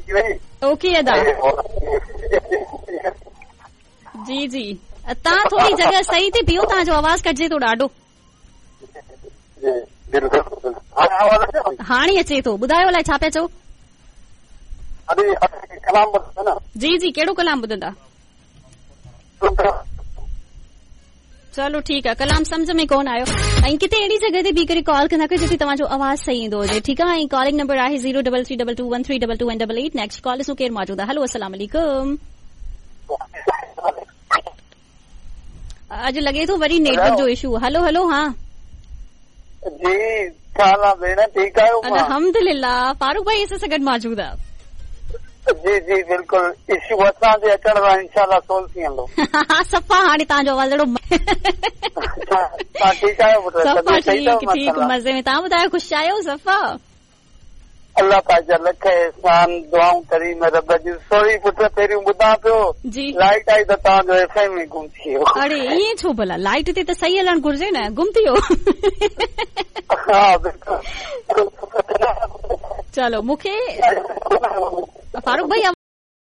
ٿي وئي. اوڪي ادا. جي جي توهان ٿوري جڳهه صحيح تي بيهو توهان جو آواز ڪٽجي ٿو ڏاڍو. جي بلڪل هاڻي آواز اچي ٿو؟ هاڻي اچي ٿو ٻڌايو الائي ڇا پيا چئو؟ ادي ڪلام ٻڌندا نه. جي جي ڪهڙو ڪلام ٻڌندا؟ چلو ٺيڪ آ ڪلام سمجهه ۾ ڪون آيو ۽ ڪٿي اهڙي جڳهه تي بيهي ڪري ڪال ڪندا ڪيو جتي توهان جو آواز صحيح ايندو هجي ٺيڪ آ ۽ ڪالنگ نمبر آهي zero double three double two one three double two ۽ double eight next call ڏسون ڪير موجود آ هلو السلام عليڪم اڄ لڳي ٿو وري نيٽ ورڪ جو اشو هلو هلو ها جي ڇا حال آ ڀيڻ ٺيڪ آهيو الحمدلله فاروق ڀائي اسان سان گڏ موجود آ جي جي بلڪل اشو اسان جي اچڻ سان انشاء الله سول ٿي ويندو. صفا هاڻي توهان جو آواز اهڙو توهان ٺيڪ آهيو پٽ صفا ٺيڪ ٺيڪ مزي ۾ توهان ٻڌايو خوش آهيو صفا الله پاڪ جا لک احسان دعائون ڪريم رب جون سوري پٽ پهريون ٻڌان پيو جي لائٽ آئي ته توهان جو ايف ايم ئي گم ٿي ويو اڙي ائين ڇو ڀلا لائٽ تي ته صحيح هلڻ گهرجي نه گم ٿي ويو ها بلڪل چلو مونکي فاروق ڀائي.